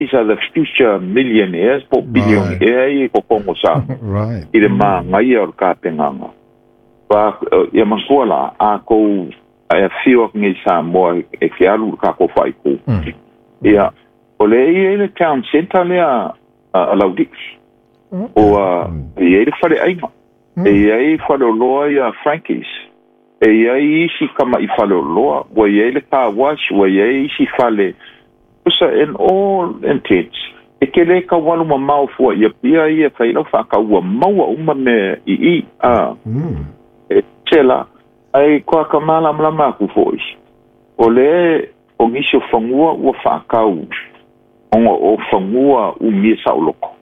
These are the future millionaires po o billionaire ia i totonu o Samoa i le māgaia o le tapenaga. Ia manatua la, a tou e afio atu nei i Samoa e te alu i le tatou faaitu, ia, o lea e i ai le town centre lea a Laulii, ua i ai le faleaiga, e i ai faleoloa ia Frankie's, e i ai isi tama'i faleoloa, ua i ai le car wash, ua i ai isi fale. Tusa, in all intents, e te le tau alu mamao fua i Apia ia e fai lau faatau, ua maua uma mea i i, a, e ese la. Ae kua ka malamalama atu foi, o lea o nisi o fanua ua faatau ona o fanua umia saoloto.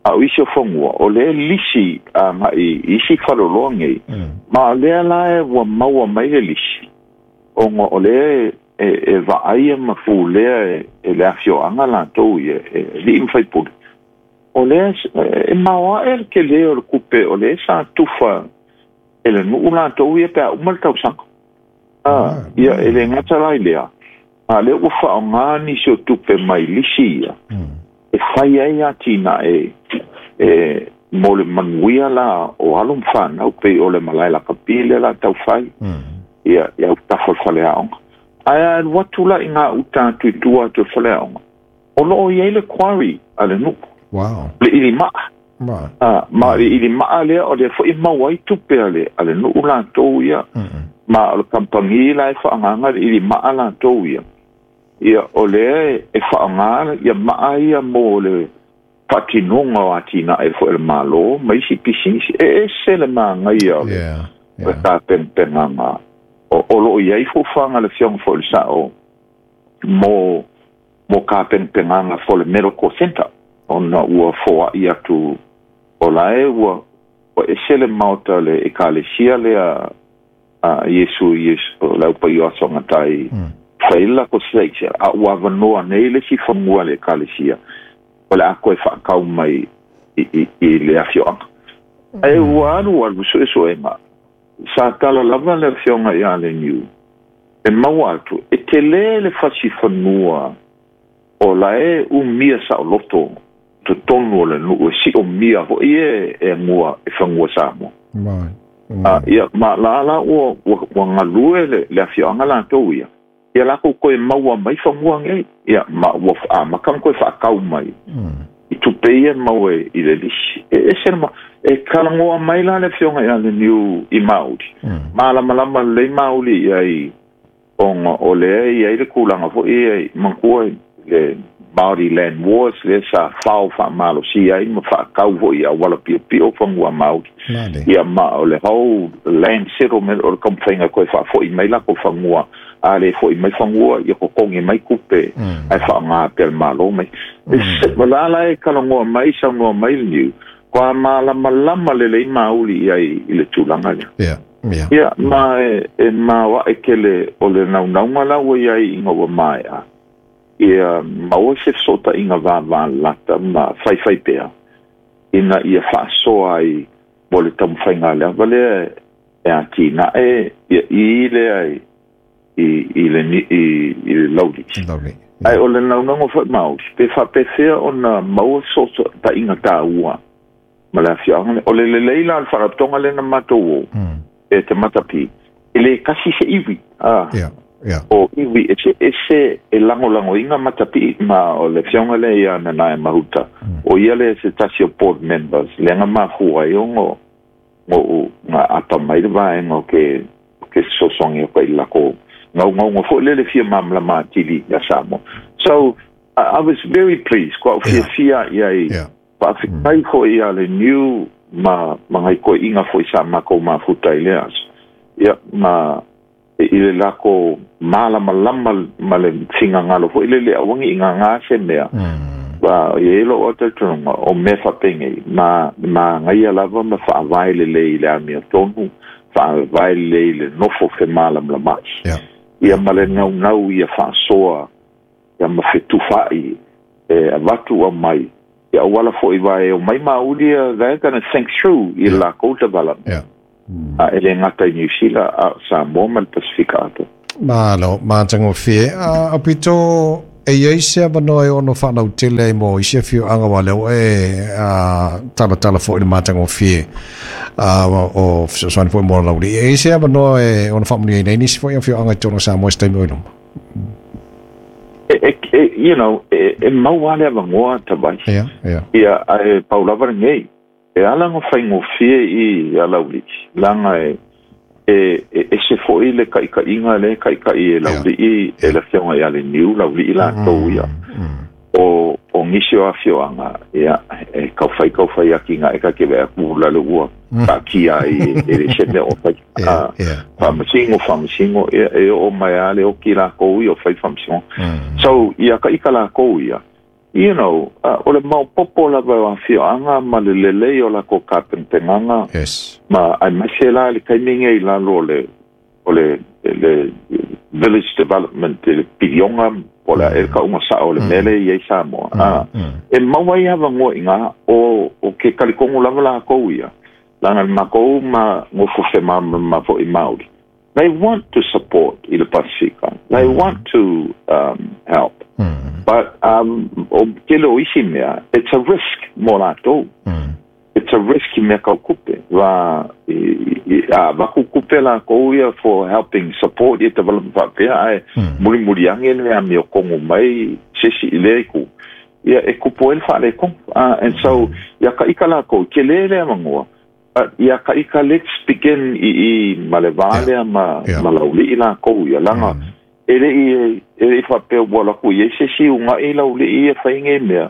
A o isi o fanua, o lea e lisi agai i isi faleoloa nei, ma o lea la e ua maua mai le lisi, ona o lea e vaaia ma pulea e le afioaga latou ia, e alii ma faipule. O lea e maoae le tele o le tupe o lea sa tufa e le nuu latou ia pe a uma le tausaga. Ia, e le gata la i lea, a o lea ua faaaoga nisi o tupe mai lisi ia e fai ai atinae e mo le manuia la o alo ma fanau, pei o le malae lakapi lea la tau fai, ia, i autafa o le faleaoga. Ae a alu atu la i gauta atu i tua atu o le faleaoga, o lo o i ai le quarry a le nuu. Le ilimaa. Ma o le ilimaa lea, o lea foi e maua ai tupe a le nuu latou ia. Ma o le kamupani la e faaaogaina le ilimaa latou ia, ia, o lea e faaaoga ia maa ia mo le faatinoga o atinae foi a le Malo ma isi pisinisi. E ese le manaia o le tapenapenaga o lo o i ai fuafuaga a le Afioga foi i le Sao mo tapenapenaga for le medical centre, ona ua foai atu o la e ua ese le maota le ekalesia lea a Iesu, Iesu o le Aupaia o Aso Agatai, fai le latou state, a ua avanoa nei le isi fanua a le ekalesia o le a toe faatau mai i le afioaga. Ae ua alu alu suesuega, sa tala lava le Afioga ia Leniu e maua atu e tele le fasi fanua o la e umia saoloto totonu o le nuu e siomia foi e gua e fanua Samoa. Ia, ma la la ua galue le afioaga latou ia, ia latou toe maua mai fanua nei, ia, ma ua amata ona toe faatau mai i tupe ia maua i le lisi. E ese le e talanoa mai la le Afioga ia Leniu i Mauli, malamalama lelei Mauli i ai, ona o lea e i ai le tulaga foi ia i manatua le Māori Land Wars lea sa fao faamalosia ai ma faatau foi i auala piopio fanua Māori. Ia, ma o le whole land settlement o le taumafaiga toe faafoi mai latou fanua, a le foi mai fanua, ia totogi mai tupe ae faaaoga pea le Malo mai. La la e talanoa mai, saunoa mai le Niu, kua malamalama lelei Māori i ai i le tulaga lea. Ia, ma e maoae tele o le naunauga la ua i ai ina ua maea, ia maua se fesootaiga vavalata ma faifai pea, ina ia faasoa ai mo le taumafaiga a le ava lea e atinae ia i lea i le Laulii. Ae o le naunauga foi Māori, pe faapefea ona maua fesootaiga taua ma le afioaga lea. O le lelei la o le faalapotopotoga lea na matou o, e te matapi, e le tasi se iwi. O iwi eseese e lagolagoina matapi, ma o le afioga lea ia Nanaia Mahuta, o ia lea se tasi o board members, lea na mafua ai ona ou na apa mai le vaega o ke fesoasoani atu ai i le latou naunauga foi lea le fia malamalama atili ia Samoa. So, I was very pleased, kua ou fiafia i ai. Faafetai foi ia le Niu ma nai toeaiina foi sa matou mafuta i lea aso, ia, ma i le latou malamalama ma le finagalo foi lele aua ne i gagā se mea. Aua e i ai lou talitonuga, o mea faapenei, ma manaia lava ma faavae lelei i le amiotonu, faavae lelei i le nofo femalamalamaai, ia ma le naunau ia faasoa ia ma fetufaai e avatu aumai ia auala foi aua e omai mauli ia, they're gonna think through i le latou development. A e le gata i Niu Sila a o Samoa ma le Pasefika atoa. Malo, matagofie. A, aupito E iai se avanoa e ono faalautele ai mo isi afioaga aua lea ua e talatala foi i le matagofie o fesoasoani foi mo Laulii. E iai se avanoa e ono faamanuiaina ai nisi foi afioaga i totonu o Samoa i se taimi o i luma? E, e, you know, e maua lava le avanoa tavai. Ia, ae pau lava lenei. E ala ona faigofie i a Laulii, leaga e e ese foi le taitaiga lea e taitai e Laulii e le Afioga ia Leniu, Laulii latou ia. O nisi o afioaga, ia, e taufai taufai atinae ta te vaai atu la le ua taatia ai e le se mea o fai. Faamasino, faamasino, ia, e oo mai lava le oti latou ia o fai faamasinoga. So, ia taita latou ia, you know, o le maopoopo lava o afioaga ma le lelei o latou tapenapenaga. Ma aemaise la le taimi lenei i lalo o le o le le village development i le piliona po o le a ea le tauga sao o le mea lea e i ai Samoa. E maua ai avanoa i ina o o ke talitonu lava latou ia, leaga le matou ma nofo femalamalama foi Maori. They want to support i le Pasifika. They want to help. But o tele o isi mea, it's a risk mo latou. It's a risk i mea kau kupe. Va, a avatu kupe lakou ia for helping support ia development faapea, ae mulimuli ane le amiotonu mai se isi i lea itu, ia e kupu ai le faaletonu. And so, ia taita lakou, tele le avanoa, but ia taita let's begin i i ma le va lea ma, ma Laulii lakou ia, leaga e le i e le i faapea ua alu atu i ai se isi unaʻi Laulii e fai nei mea.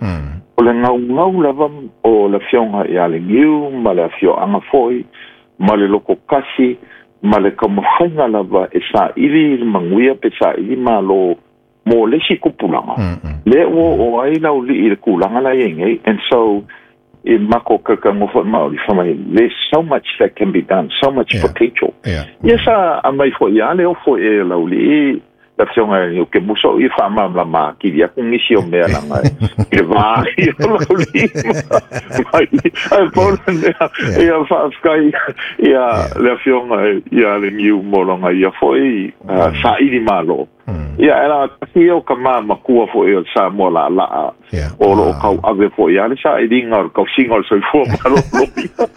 O le gaugau lava o le Afioga ia Leniu ma le afioaga foi ma le loto tasi ma le taumafaiga lava e saili i le manuia pe saili malo mo le isi tupulaga lea ua oo ai Laulii i le tulaga la e i ai nei. And so i mako kaukauga foi Maori fai mai there's so much that can be done, so much potential. Ia sa aumai foi lava le ofo e Laulii le Afioga ia Kemusa o ia faamalamalama atili atu nisi o mea leaga i le va ai o Laulii mai ae pau le mea ia faafetai ia le Afioga ia Leniu mo lona ia foi saili malo. Ia, e la tasi ia o ka ma matua foi o le Samoa laalaa o lo o tauave foi lava le sailiga o le tausiga o le soifua maloloina.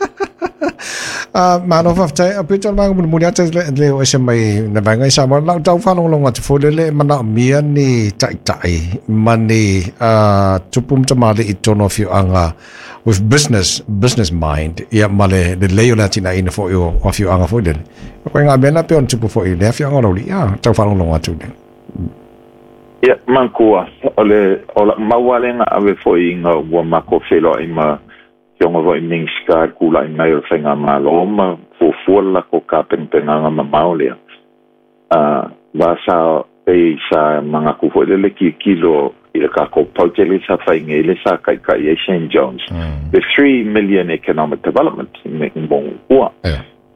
Malo faafetai. A pito le vaega mulimuli atu le le o ese mai na vaega i Samoa. Lau tau faalogologo atu foi lele e manaomia ni taitai ma ni tupu ma tamalii i totonu o afioaga with business mind ia ma le lelei o le atinaeina foi o afioaga foi lele. O koe ngā mea na pei ona tupu foi i le afioaga o Laulii, a, tau faalogologo atu le. Ia, makua, o le, o la'u mau lava lea na ave foi ina ua matou feiloai ma Afioga foi i Minisita i le tulai mai o le Faigamalo ma fuafua le latou tapenapenaga mamao lea. A, va sa, pei sa manatu foi lele tilotilo i le tatou project lea sa fai nei lea sa taitai ai Shane Jones, the 3 million economic development mo ua.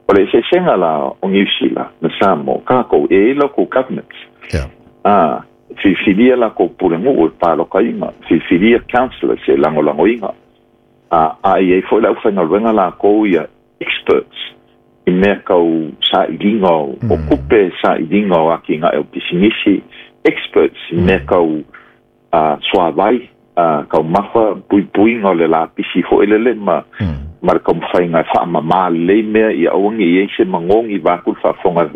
O le eseesega la o Niu Sila ma Samoa, kākou e i ai local governments. A, filifilia lakou pulenuu e palokaina, filifilia councillors e lagolagoina. A i ai foi le aufaigaluega lakou ia experts i mea tau sailiga o tupe, sailiga o atinae o pisinisi, experts i mea tau suavai, taumafa, puipuiga o le lapisi foi lele ma ma le taumafaiga e faamamā lelei mea ia aua ne i ai se magogi vaeatu le faafofoga.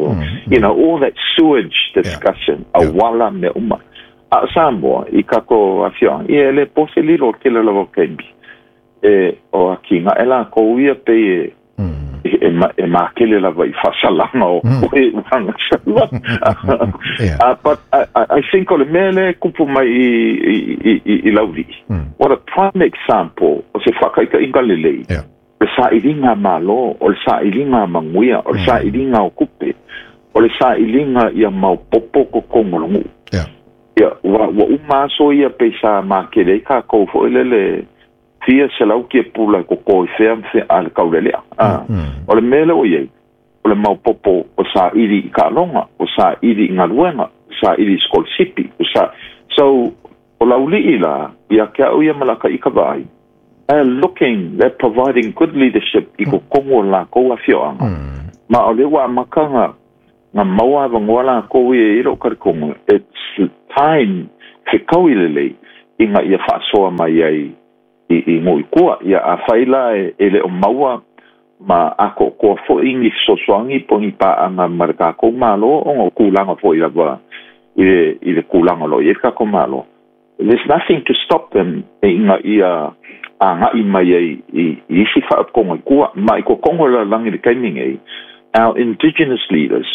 All that sewage discussion, auala mea uma. A o Samoa i tatou afioaga, ia e le po se lilo o le tele lava o taimi e o atinae lakou ia pei e makele lava i faasalaga o e uaga saua. But I think o le mea lea e kupu mai i Laulii, what a prime example o se faataitaiga lelei, o le sailiga malo, o le sailiga manuia, o le sailiga o tupe, o le sailiga ia maopoopo totonu o le nuu. Ia, ua uma aso ia pei sa makele ai tatou foi lele fia selau tiapula e koko i fea ma fea a le taulelea. O le mea lea ua i ai, o le maopoopo o saili i taaloga, o saili i galuega, o saili i sikolasipi. O sa... So, o Laulii la, ia te au ia ma la taʻi vaai, they're looking, they're providing good leadership i totonu o lakou afioaga. Ma o lea ua amata na maua avanoa lakou ia i lou talitonu. It's time. fekaui lelei ina ia faasoa mai ai i nuu i tua. Ia afai la e le o maua ma akoakoa foʻi ni fesoasoani po ni paaga ma le takou Malo, ona o tulaga foʻi lava i le tulaga o loo i ai le takou Malo. There's nothing to stop them ina ia agaʻi mai ai i isi faapotoga i tua. Ma i totonu o le lalolagi le taimi nei, our indigenous leaders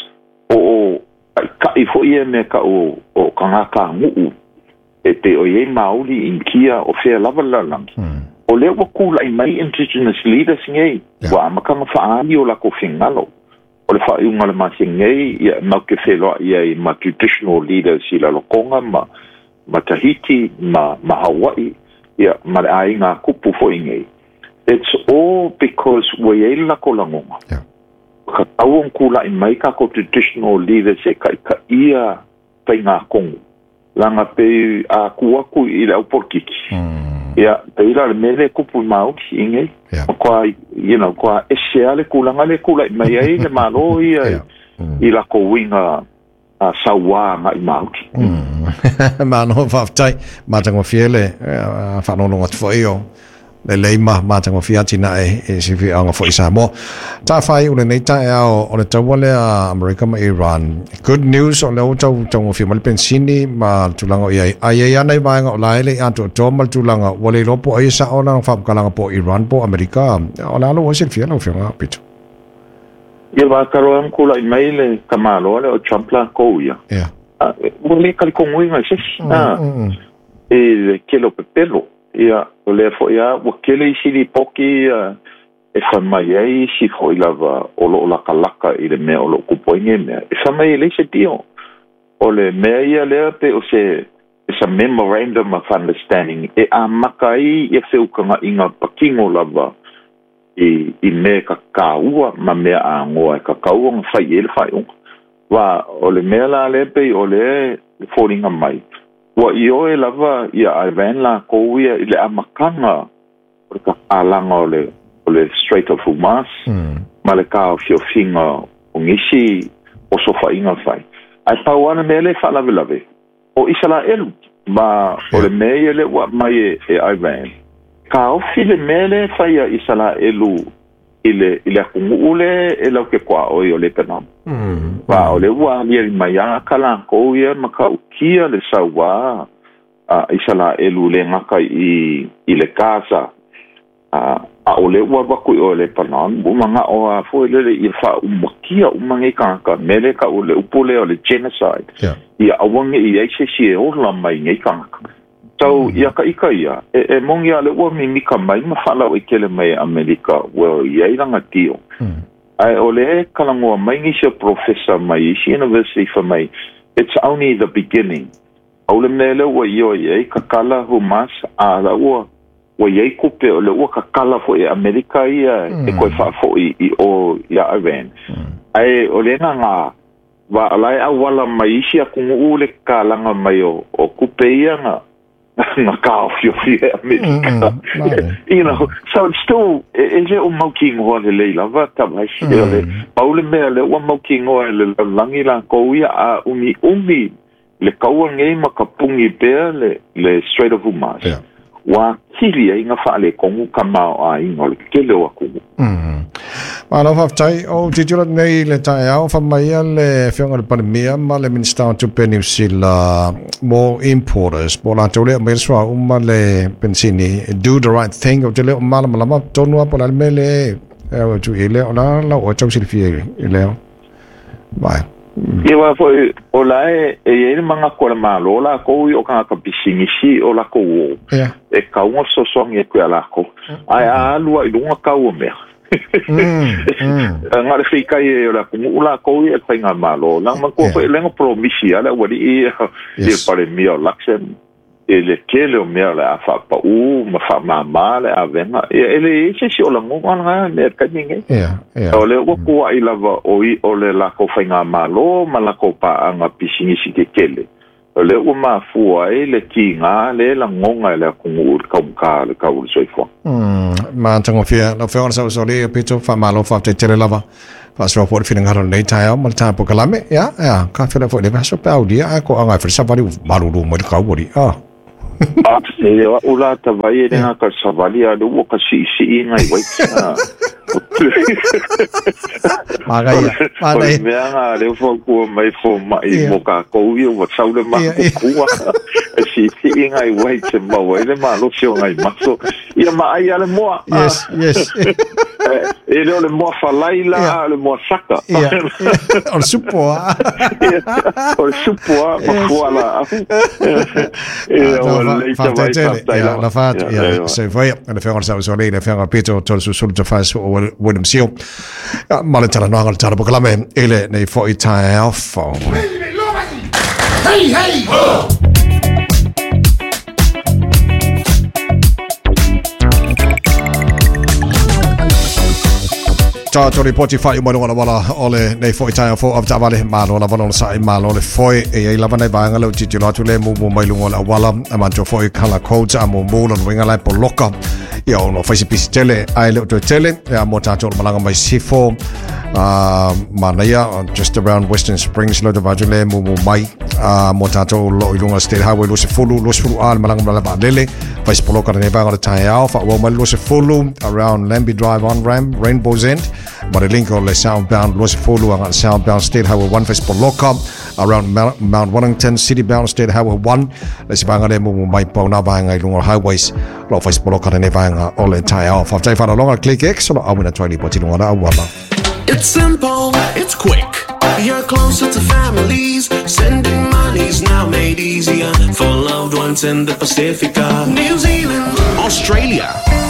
o taʻitaʻi foʻi ia mea taʻu o tagata nuu e pei o iai Maoli, Inikia, o fea lava le lalolagi. O lea ua kulaʻi mai indigenous leaders nei, ua amataga faaali o latou finagalo. O le faaiuga o le masina nei, ia mau te feloaʻi ai ma traditional leaders i Lalotoga ma Tahiti ma Hawaii, ia ma le aiga a tupu foʻi nei. It's all because ua iai le latou lagona. Ka tatau ona kulaʻi mai tatou traditional leaders e taʻitaʻia faigatonu. Laga pei a tu atu i le au polokiki. Ia, pei la le mea lea e tupu i Maori i nei. Matua, you know, matua ese lava le tulaga lea e tulaʻi mai ai le Malo ia i latou uiga sauā agai Maori. Malo faafetai. Matagofie le faalogologo atu foi o lelei ma matagofie atinae i se afioaga foi i Samoa. Tafaai o lenei taeao o le taua lea Amerika ma Iran. Good news o lea ua tau taugofie mai le penisini ma le tulaga o i ai. Ae i ai lava nai vaega o la e le i atoatoa ma le tulaga ua le iloa po o ai e sao lana faamatalaga po o Iran po o Amerika. O le a lou ai silafia lau Afioga Pito? Ia wa talo e kulaʻi mai le tamāloa lea o Trump lakou ia. Ua le talitonuina e se isi i le tele o pepelo. Ia, o lea foʻi lava ua tele isi lipoti ia e fai mai ai isi foʻi lava o loo latalata i le mea o loo tupu ai nei mea. E fai mai e leai se deal. O le mea ia lea pei o se it's a memorandum of understanding e amata ai ia feutagaʻiga patino lava i mea e kāua ma mea agoa e tatau ona fai i ai le faaiuga. Wa o le mea la lea pei o lea e foliga mai, ua ioe lava ia Iran lakou ia i le amataga o le tatalaga o le Strait of Hormuz ma le taofiofiga o nisi osofaiga fai. Ae pau lava le mea lea e faalavelave, o Isalaelu, ma o le mea ia lea ua aumai e Iran, taofi le mea lea e fai a Isalaelu i le atunuu lea e lau te tuaoi o Lebanon. Ma o lea ua aliali mai ata lakou ia ma tautia le sauā a Isalaelu le gata i le Gaza, a o lea ua alu atu i o i Lebanon, ua manao lava foi lele ia faaumakia uma nei tagata, mea lea e tau o le upu lea o le genocide, ia aua ne i ai se isi e ola mai nei tagata. So, ia ka ika ia, e moni lava o lea ua mimika mai ma faalauaitele mai e Amerika ua i ai lana deal. Ae o lea e talanoa mai nisi o polofesa mai isi university fai mai, it's only the beginning. Pau le mea lea ua ioe i ai, tatala Hamas, a la ua ua i ai tupe, o lea ua tatala foi e Amerika ia e toe faafoi i o iā Iran. Ae o le agaga, wa o la e auala mai isi atunuu le tatalaga mai o tupe ia na na taofiofia e Amerika. You know, so it's still, e le o mautinoa lelei lava tavaisi. O le pau le mea lea ua mautinoa e le lalolagi lakou ia, a umiumi le kaua nei ma ka puni pea le Strait of Hormuz, ua atili ai na faaletonu tamaoaiga o le tele o atunuu. Malo faafetai. O tilotilo atu nei i le taeao, fai mai ia le Afioga i le Palemia ma le Minisita o Tupe Niu Sila mo importers, po o latou lea e aumaia le suauu ma le penisini, do the right thing. Ou te le o malamalama tonu lava po o le a le mea lea e au atu i ai lea, o le a lau oe tau silafia i lea vaega? Ia aua foi o la e i ai le manatu a le Malo lakou ia o tagata pisinisi o lakou o e tatau ona fesoasoani atu ia lakou. Ae a alu lava i luga tau o mea, na o le feitai ai o le atunuu lakou ia e le faigamalo. Leaga manatua foi e le na polomisi lava le aualii ia i le Palemia o Luxem i le tele o mea o le a faapaū ma faamāmā le avega. Ia, e leai se isi o lagona lena mea i le taimi lenei. O lea ua tuuaʻi lava o le latou faigamalo ma latou paaga pisinisi tetele. O lea ua mafua ai le tigā lea e lagoga e le atunuu i le taugata o le tau o le soifuaga. Matagofie lau Afioga i le Saosaolia ia pito faamalo faafetai tele lava faasoa foi le finagalo i lenei taeao ma le tapu kalame. Ia, ia, ka fela foi le vaso pe aulia ae ko anga e savali u malulu mai le kau ali. Ah. E o a'u la tavai e le gata i le savali a o lea ua ka siisii nai uai. Manaia, O le manaia. mea lena lea ua fautua mai fomai mo tatou ia ua sau le matutua e siisii nai uai e maua ai le malosi o nai maso. Ia maai lava le moa. Yes, yes. E le o le moa falai la, a o le moa saka. Ia, o le supo a. O le supo a, ma fualaau. Ia, ua lelei Faafetai tavai, tele. faafetai Ia, lava. lafa atu. Ia, Ia, ia. soifua ia. Le Afioga i le Saosaolia, le Afioga Peter Tolesusulu Tafasi o William Seal. Ia, ma le talanoaga o le tala polokalame i lenei foi taeao fou. Hey, hey! Tātou ripoti whai umano wala wala o le nei foi taeao fou avetaavale malo lava lona sa'i malo le foe e iai lava nai vaega lea ua tilotilo atu le mumu mai luga o le auala a manatua foi colour codes a mumu lona uiga la e poloka ia ona fai se pisi tele ae le o toe tele ia mo tātou o le malaga mai sifo manaia just around Western Springs lo te vatu le mumu mai mo tātou lo i luga State Highway 20 20 a le malaga mai le vaalele fai se poloka lenei vaega o le taeao faaauau mai le 20 around Lambie Drive on Ram Rainbow's End ma le link o le southbound 20 aga southbound State Highway 1 fai se poloka around Mount Wellington City bound State Highway 1 le se vaega le mumu mai pauna vaega i luga o highways lo fai se poloka lenei vaega o le taeao. Faafetai faalaloga Click X o lo auina atu ai lipoti luga o le auala. It's simple, it's quick. You're closer to families. Sending money's now made easier for loved ones in the Pacifica, New Zealand, Australia.